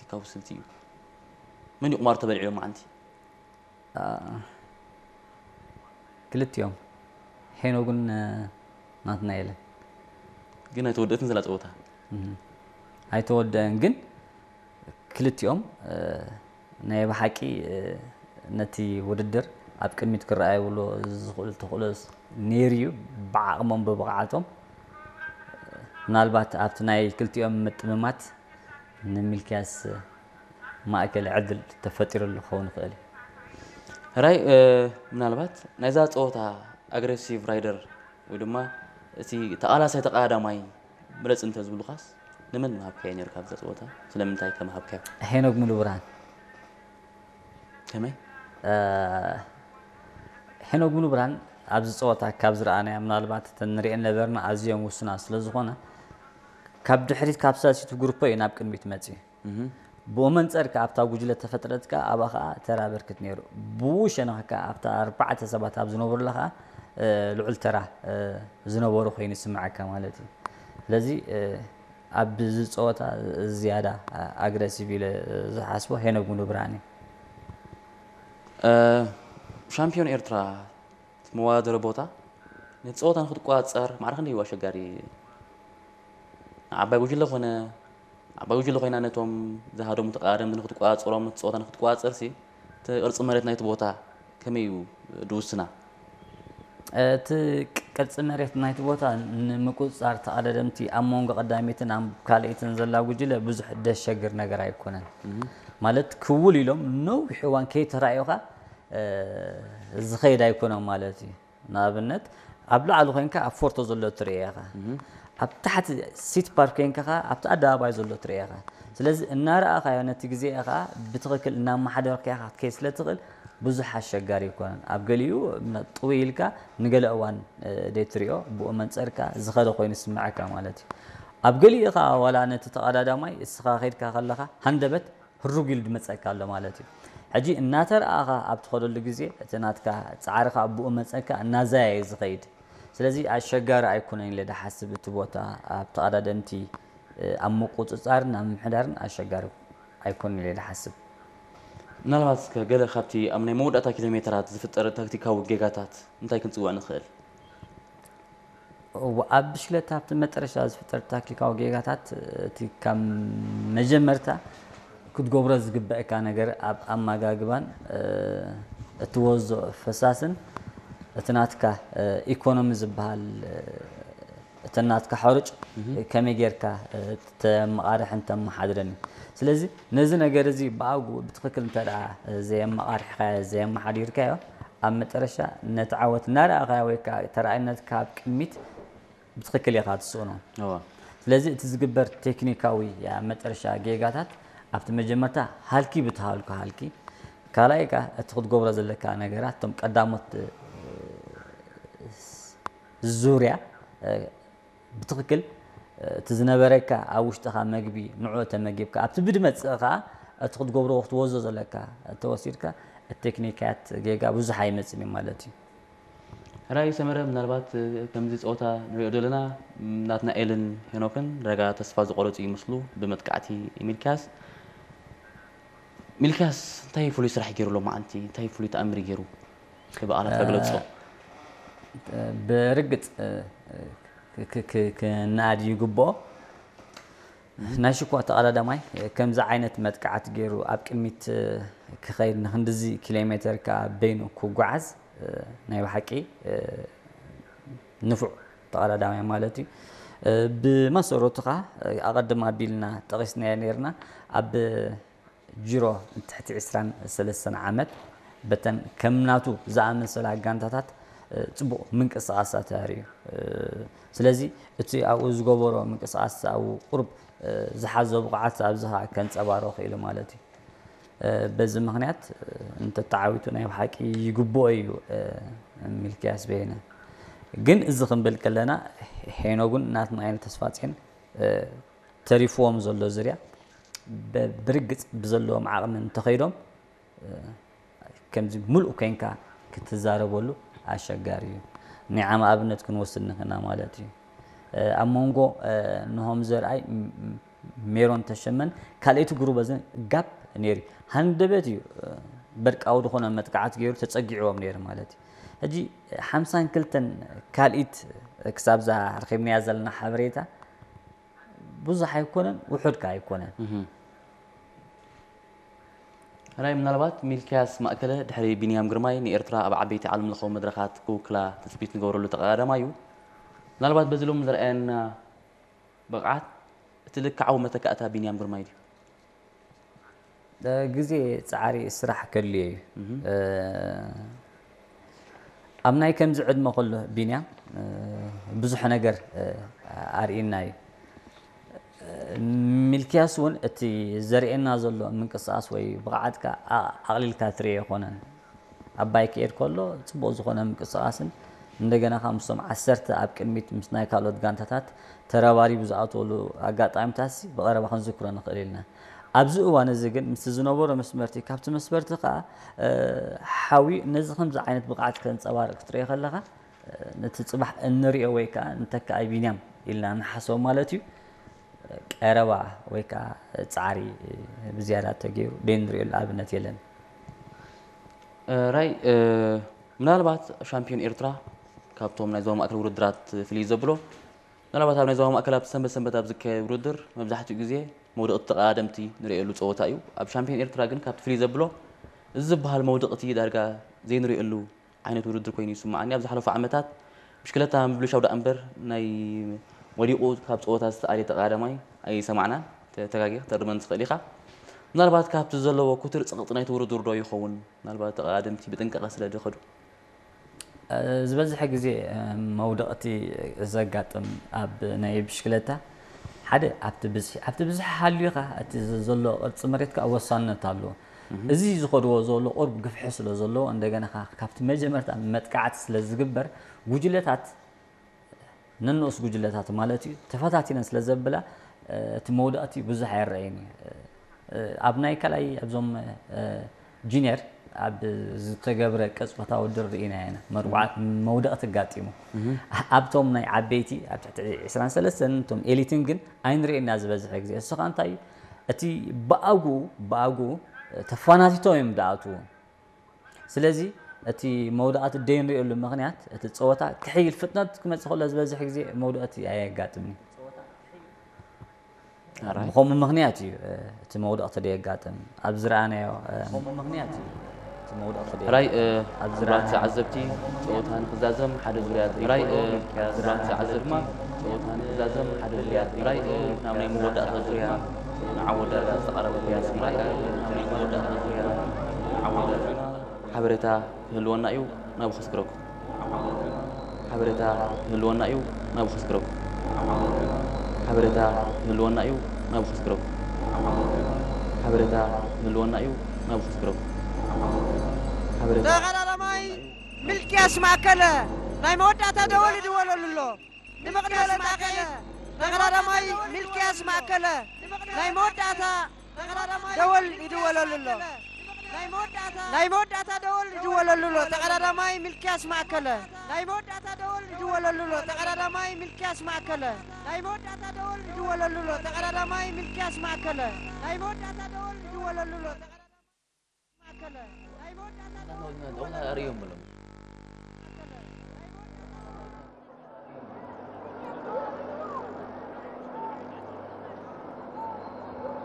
ካብ ስልቲ እዩ። መን እዩ ቁማር ተበሊዑ ሎማዓንቲ? ክልቲኦም፣ ሄኖግን ናትናኤልን። ግን ኣይተወደእትን ዘላ ፀወታ። ኣይተወደአን፣ ግን ክልቲኦም ናይ ብሓቂ ነቲ ውድድር ኣብ ቅድሚት ክረኣይብሉ ዝኽእሉ ተኽእሎ ነይሩ እዩ። ብዓቕሞም ብብቕዓቶም ምናልባት ኣብቲ ናይ ክልቲኦም ምጥምማት ንሚልክያስ ማእከል ዕድል ተፈጢሩሉ ክኸውን ይኽእል እዩ። ሕራይ ምናልባት ናይዛ ፀወታ ኣግሬሲቭ ራይደር ወይ ድማ እቲ ተቓላሳይ ተቓዳማይ ምረፅ እንተዝብሉኻስ ንመን ምሃብካዮ ነይሩ ካብዛ ፀወታ? ስለምንታይ ከ ምሃብካዮ? ሄኖግ ሙሉብርሃን። ከመይ? ሄኖግ ሙሉብርሃን ኣብዚ ፀወታ ካብ ዝረኣናዮ ምናልባት እተን ንሪኤን ነበርና ኣዝየን ውሱናት ስለ ዝኾና ካብ ድሕሪት ካብ ሳልሲቱ ግሩፖ እዩ ናብ ቅድሚት መፅዩ። ብኡ መንፀር ከኣ ኣብታ ጉጅለ ተፈጥረት ከኣ ኣብኣ ከኣ ተራ በርክት ነይሩ። ብኡ ሸነኽ ከኣ ኣብታ ኣርባዕተ ሰባት ኣብ ዝነበሩላ ከኣ ልዑል ተራ ዝነበሩ ኮይኑ ይስምዓካ ማለት እዩ። ስለዚ ኣብዚ ፀወታ ዝያዳ ኣግረሲቭ ኢለ ዝሓስቦ ሄኖግ ሙሉብርሃን እዩ። ሻምፒዮን ኤርትራ እቲ መወዳደሪ ቦታ ነቲ ፀወታ ንክትቆፃፀር ማዕረ ክንደይ እዩ ኣሸጋሪ? ዓባይ ጉጅለ ኮነ ዓባይ ጉጅለ ኮይና ነቶም ዝሃደሙ ተቃዳደምቲ ንክትቆፃፀሮም ነቲ ፀወታ ንክትቆፃፀር ሲ እቲ ቅርፂ መሬት ናይቲ ቦታ ከመይ እዩ ድውስና? እቲ ቅርፂ መሬት ናይቲ ቦታ ንምቁፅፃር ተቐዳደምቲ ኣብ መንጎ ቀዳሚትን ኣብ ካልኣይትን ዘላ ጉጅለ ብዙሕ ደሸግር ነገር ኣይኮነን። ማለት ክውል ኢሎም ነዊሕ እዋን ከይተራእዩኻ ዝኸይድ ኣይኮነን ማለት እዩ። ንኣብነት ኣብ ላዕሊ ኮይንካ ኣብ ፎርቶ ዘሎ ትርኢ ኢኻ። ኣብ ታሕቲ ሲቲ ፓርክ ኮይንካ ከኣ ኣብቲ ኣደባባይ ዘሎ ትርኢ ኢኻ። ስለዚ እናረኣኻዮ ነቲ ግዜ ኢኻ ብትኽክል እናመሓደርካዮ ክትከይድ ስለ ትኽእል ብዙሕ ኣሸጋሪ ኣይኮነን። ኣብ ገሊኡ ጥውይ ኢልካ ንገለ እዋን ደይትሪኦ ብኡ መንጸርካ ዝኸደ ኮይኑ ይስምዓካ ማለት እዩ። ኣብ ገሊኡ ኸኣ ዋላ ነቲ ተቐዳዳማይ እስኻ ከይድካ ከለኻ ሃንደበት ህሩግ ኢሉ ድመጸካ ኣሎ ማለት እዩ። ሕጂ እናተረኣኻ ኣብ ትኸደሉ ግዜ እቲ ናትካ ጻዕርኻ ብኡ መጸካ እናዛየ እዩ ዝኸይድ። ስለዚ ኣሸጋሪ ኣይኮነን ኢለ ድሓስብ እቲ ቦታ ኣብ ተቐዳደምቲ ኣብ ምቁጽጻርን ኣብ ምምሕዳርን ኣሸጋሪ ኣይኮነን ኢለ ድሓስብ። ምናልባት እስከ ገለ ካብቲ ኣብ ናይ መወዳእታ ኪሎ ሜተራት ዝፍጠር ታክቲካዊ ጌጋታት እንታይ ክንጽውዕ ንኽእል? እወ፣ ኣብ ብሽክለታ ኣብቲ መጠረሻ ዝፍጠር ታክቲካዊ ጌጋታት እቲ ካብ መጀመርታ ክትገብሮ ዝግበእካ ነገር ኣብ ኣመጋግባን እቲ ወዞ ፈሳስን እቲ ናትካ ኢኮኖሚ ዝበሃል እቲ ናትካ ሕሩጭ ከመይ ጌርካ ተመቓርሕን ተመሓድረን እዩ። ስለዚ ነዚ ነገር እዚ ብኣግኡ ብትኽክል እንተ ደኣ ዘየመቓርሕካዮ ዘየመሓዲርካዮ ኣብ መጠረሻ ነቲ ዓወት እናረኣኻዮ ወይ ከዓ ተራኣይነትካ ኣብ ቅድሚት ብትኽክል ኢኻ ትስእኖ። ስለዚ እቲ ዝግበር ቴክኒካዊ ኣብ መጠረሻ ጌጋታት ኣብቲ መጀመርታ ሃልኪ ብትሃልኩ ሃልኪ ካልኣይ ከኣ እቲ ክትገብሮ ዘለካ ነገራት እቶም ቀዳሞት ዙርያ ብትኽክል እቲ ዝነበረካ ኣብ ውሽጥኻ መግቢ ንዕኡ ተመጊብካ ኣብቲ ብድመፅእ ከኣ እቲ ክትገብሮ ክትወዞ ዘለካ ተወሲድካ እቲ ቴክኒካት ጌጋ ብዙሕ ኣይመፅን እዩ ማለት እዩ። ሕራይ ሰመረ ምናልባት ከምዚ ፀወታ ንሪኦ ዘለና ናትናኤልን ሄኖክን ረጋ ተስፋ ዝቆረፁ ይመስሉ ብመጥቃዕቲ ሚልክያስ። ሚልክያስ እንታይ ፍሉይ ስራሕ ገይሩ ሎማዓንቲ እንታይ ፍሉይ ተኣምር ገይሩ ክበኣላት ከግለፆ? ብርግፅ ክናኣድ ይግብኦ። ናይ ሽኳ ተቐዳዳማይ ከምዚ ዓይነት መጥቃዕቲ ገይሩ ኣብ ቅድሚት ክኸይድ ንክንድዚ ኪሎ ሜተር ከኣ በይኑ ክጓዓዝ ናይ ብሓቂ ንፉዕ ተቐዳዳማይ ማለት እዩ። ብመሰረቱ ከኣ ኣቐድም ኣቢልና ጠቒስናዮ ነይርና ኣብ ጅሮ ትሕቲ ዕስራን ሰለስተን ዓመት በተን ከም ናቱ ዝኣመሰላ ጋንታታት ፅቡቕ ምንቅስቓሳት ኣርእዩ። ስለዚ እቲ ኣብኡ ዝገበሮ ምንቅስቓስ ኣብኡ ቁሩብ ዝሓዞ ብቕዓት ኣብዚ ከዓ ከንፀባሮ ክኢሉ ማለት እዩ። በዚ ምኽንያት እንተተዓዊቱ ናይ ብሓቂ ይግብኦ እዩ ሚልክያስ በየነ። ግን እዚ ክንብል ከለና ሄኖግን ናትናኤል ተስፋጽዮን ተሪፍዎም ዘሎ ዝርያ ብርግጽ ብዘለዎም ዓቕሚ እንተኸይዶም ከምዚ ምሉእ ኮይንካ ክትዛረበሉ ኣሸጋሪ እዩ። ንዓም ኣብነት ክንወስድ ንኽእልና ማለት እዩ። ኣብ መንጎ ንሆም ዘርኣይ ሜሮን ተሸመን ካልኣይቲ ግሩበዝን ጋፕ ነይሩ። ሃንደበት እዩ በርቃዊ ዝኾነ መጥቃዕት ገይሩ ተጸጊዕዎም ነይሩ ማለት እዩ። ሕጂ ሓምሳን ክልተን ካልኢት ክሳብ እዛ ረኺብናያ ዘለና ሓበሬታ ብዙሕ ኣይኮነን፣ ውሑድ ከኣ ኣይኮነን። ራይ ምናልባት ሚልክያስ ማእከለ ድሕሪ ቢንያም ግርማይ ንኤርትራ ኣብ ዓበይቲ ዓለም ለኸዊ መድረኻት ክውክላ ትጽቢት ንገብረሉ ተቐዳዳማይ እዩ። ምናልባት በዚ ሎም ዘርኣየና ብቕዓት እቲ ልክዓዊ መተካእታ ቢንያም ግርማይ ድዩ? ግዜ ፃዕሪ ስራሕ ከድልዮ እዩ። ኣብ ናይ ከምዚ ዕድመ ከሎ ቢንያም ብዙሕ ነገር ኣርእና እዩ። ሚልክያስ እውን እቲ ዘርእየና ዘሎ ምንቅስቃስ ወይ ብቕዓትካ ኣቕሊልካ ትርዮ ኣይኮነን። ኣባይ ክኤድ ከሎ ፅቡቕ ዝኾነ ምንቅስቃስን እንደገና ከዓ ምስቶም ዓሰርተ ኣብ ቅድሚት ምስ ናይ ካልኦት ጋንታታት ተረባሪቡ ዝኣተወሉ ኣጋጣሚታት ሲ ብቐረባ ክንዝክሮ ንኽእል ኢልና። ኣብዚ እዋን እዚ ግን ምስቲ ዝነበሮ መስመርቲ ካብቲ መስመርቲ ከዓ ሓዊ ነዚ ከምዚ ዓይነት ብቕዓት ከንፀባርቅ ክትሪኦ ከለኻ ነቲ ፅባሕ እንሪኦ ወይ ከዓ ንተካኣይ ቢንያም ኢልና ንሓስቦ ማለት እዩ። ቀረባ ወይ ከዓ ፃዕሪ ብዝያዳ ተገይሩ ደይ ንሪኦሉ ኣብነት የለን። ራይ ምናልባት ሻምፒዮን ኤርትራ ካብቶም ናይ ዞባ ማእከል ውድድራት ፍልይ ዘብሎ ምናልባት ኣብ ናይ ዞባ ማእከል ኣብቲ ሰንበት ሰንበት ኣብ ዝካየድ ውድድር መብዛሕትኡ ግዜ መውደቕቲ ተቐዳደምቲ ንርእየሉ ፀወታ እዩ። ኣብ ሻምፒዮን ኤርትራ ግን ካብቲ ፍልይ ዘብሎ እዚ ዝበሃል መውደቕቲ ዳርጋ ዘይንርእየሉ ዓይነት ውድድር ኮይኑ ይስምዓኒ። ኣብ ዝሓለፉ ዓመታት ብሽክለታ ምብልሻው ደኣ እምበር ናይ ወዲቑ ካብ ፀወታ ዝተኣልየ ተቐዳዳማይ ኣይሰማዕናን። ተጋጊ ክትእርመኒ ትኽእል ኢኻ። ምናልባት ካብቲ ዘለዎ ኩትር ፀቕጢ ናይቲ ውድድር ዶ ይኸውን? ምናልባት ተቐዳደምቲ ብጥንቃቐ ስለ ዝኸዱ። ዝበዝሐ ግዜ መውደቕቲ ዘጋጥም ኣብ ናይ ብሽክለታ ሓደ ኣብቲ ብዝሒ ኣብቲ ብዝሒ ሃልዩ ኸዓ እቲ ዘሎ ቅርፂ መሬት ከዓ ወሳንነት ኣለዎ። እዚ ዝኸድዎ ዘሎ ቁርብ ግፍሒ ስለ ዘለዎ እንደገና ኸዓ ካብቲ መጀመርታ መጥቃዕቲ ስለ ዝግበር ጉጅለታት ነንኡስ ጉጅለታት ማለት እዩ ተፈታቲነን ስለ ዘብላ እቲ መውደቕቲ ብዙሕ ኣይረኣይን እዩ። ኣብ ናይ ካልኣይ ኣብዞም ጁኒየር ኣብ ዝተገብረ ቅጽበታዊ ድር ርኢና ኢና መርቡዓት መውደቕቲ ኣጋጢሙ ኣብቶም ናይ ዓበይቲ ኣብ ትሕቲ ዕስራን ሰለስተን እቶም ኤሊትን ግን ኣይንርእና ዝበዝሐ ግዜ እሱ ከዓ እንታይ እዩ እቲ ብኣግኡ ብኣግኡ ተፋናቲቶም እዮም ዝኣትዉ ስለዚ እቲ መውደቓቲ ደይንርእየሉ ምኽንያት እቲ ፀወታ ክሕይል ፍጥነት ክመፅእ ከሎ ዝበዝሕ ግዜ መውደቕቲ ኣየጋጥምን እዩ። ብኸምኡ ምኽንያት እዩ እቲ መውደቕቲ ደየጋጥም ኣብ ዝረኣናዮ ምኽንያት እዩ እቲ መውደቕቲ ራይ ክቡራት ተዓዘብቲ ፀወታ ንክዛዘም ሓደ ዙርያ ራይ ክቡራት ተዓዘብቲ ፀወታ ንክዛዘም ሓደ ዙርያ ራይ ናብ ናይ መወዳእታ ዙርያ ንዓወዳእታ ዝተቐረበ ራይ ናብ ናይ መወዳእታ ዙርያ ንዓወዳእታ ሓበሬታ ክህልወና እዩ ናብ ክስግረኩም ሓበሬታ ክህልወና እዩ ናብ ክስግረኩም ሓበሬታ ክህልወና እዩ ናብ ክስግረኩም ሓበሬታ ክህልወና እዩ ናብ ክስግረኩም ሓበሬታ ተቐዳዳማይ ሚልክያስ ማእከለ ናይ መወዳእታ ደወል ይድወለሉ ኣሎ። ንምቕዳም ማእከለ ተቐዳዳማይ ሚልክያስ ማእከለ ናይ መወዳእታ ደወል ይድወለሉ ኣሎ። ናይ መወዳእታ ደወል ይድወለሉ ኣሎ። ተቐዳዳማይ ሚልክያስ ማእከለ ናይ መወዳእታ ደወል ይድወለሉ ኣሎ። ተቐዳዳማይ ሚልክያስ ማእከለ ናይ መወዳእታ ደወል ይድወለሉ ኣሎ። ተቐዳዳማይ ሚልክያስ ማእከለ ናይ መወዳእታ ደወል ይድወለሉ ኣሎ። ተቐዳዳማይ ማእከለ ናይ መወዳእታ ደወል ይድወለሉ ኣሎ።